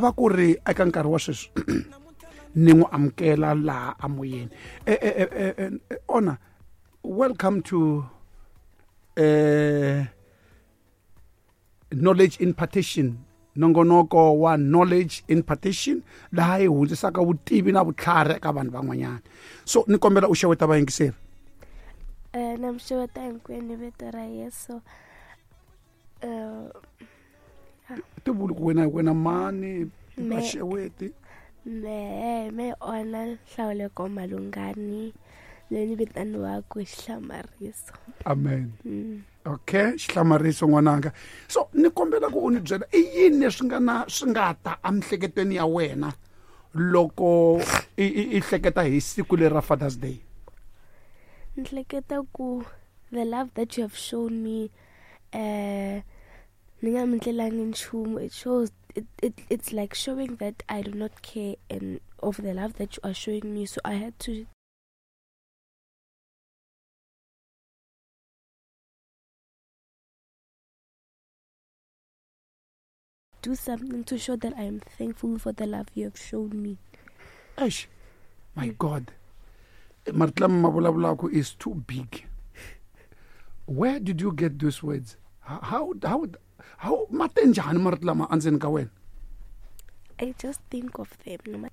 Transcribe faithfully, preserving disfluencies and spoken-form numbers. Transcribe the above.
lava ku ri eka nkarhi wa sweswi ni n'wi amukela laha amoyeni. Eh, eh, eh, eh, Ona, welcome to uh, Knowledge Impartation, nongonoko wa Knowledge Impartation, laha hi hundzisaka vutivi na vutlhari eka vanhu van'wanyana. So ni kombela u xeweta vayingiseri. Eh, na mi xeweta hinkwenu vito ra Yesu. Eh, tivuli ku wena wena mani va xeweti. Me me Ona Nhlawuleko Malungani, leyi ni vitaniwaka Xihlamariso. Amen. Mm. Okay, Xihlamariso n'wananga. So ni kombela ku u ni byela i yini leswi nga na swi nga ta emiehleketweni ya wena loko i i hleketa hi siku leri ra Father's Day? Ni hleketa ku the love that you have shown me, eh, ni nga mi ndlelangi nchumu, it shows it, it it's like showing that I do not care and of the love that you are showing me, so I had to do something to show that I am thankful for the love you have shown me. Eish, my God. Marito lama ma vulavulaka is too big. Where did you get those words? How, how, how ma te njhani marito lama endzeni ka wena? I just think of them.